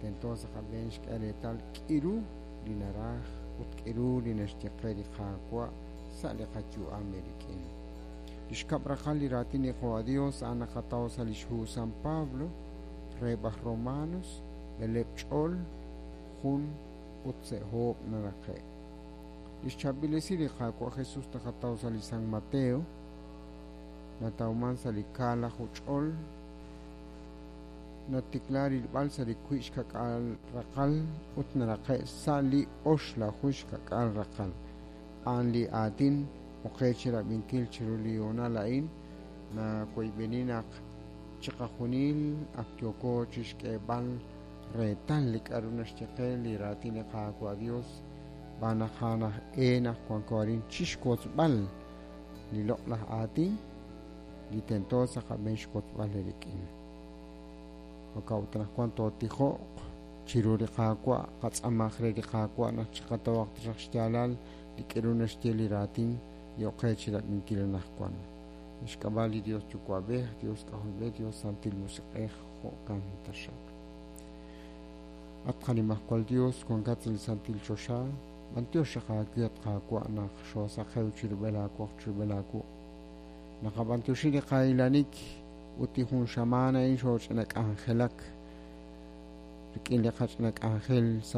Tento sa' qab'een xk'e reetal k'iru li naraj ut k'iru li naxye qe li Qaawa' sa' li qayu'am eerik'in. Li xkab' raqal li raatin li Qawa' Dios a'an naqataw sa' lix hu San Pablo reheb' aj Romanos, b'eleb' ch'ol, jun ut se'hoob' naraqe'. Lix chaab'il esil li Qaawa' Jesus naqataw sa' li San Mateo, natawman sa' li kaalaju ch'ol, natikla rilb'al sa' li wiib' xka'k'aal raqal ut naraqe' sa' li oxlaju xka'k'aal raqal. A'an li aatin oqe chirab'inkil chiru li hoonal a'in, nawoyb'eni naq chiqajunil ak yooko chixk'eeb'al reetal li k'a'ru naxye qe li raatin li Qaawa' Dios, xb'aan naq a'an aj e naq wanko arin chixwotzb'al li loq'laj aatin li tento sa' qab'een xwotzb'al eerik'in. Jo'kan ut anaqwan tootijoq chiru li Qaawa', qatz'amaq re li Qaawa' naq chiqatawaq taxaq xyaalal li k'a'ru naxye li raatin li oqe chirab'inkil anaqwan. Lix k'ab'a' li Dios Yuwa'b'ej, Dios K'ajolb'ej, Dios Santil Musiq'ej, jo'kan taxaq. At qanimajwal Dios, wankat sa' li santil choxa, b'antiox xaq aawe, at Qaawa', naq xoosaqew chirub'el aawoq chirub'el aawuq'. Naqab'antioxi li qahilanik ut li jun xamaan a'in xooch'ina k'anjelak rik'in li qach'ina k'anjel sa'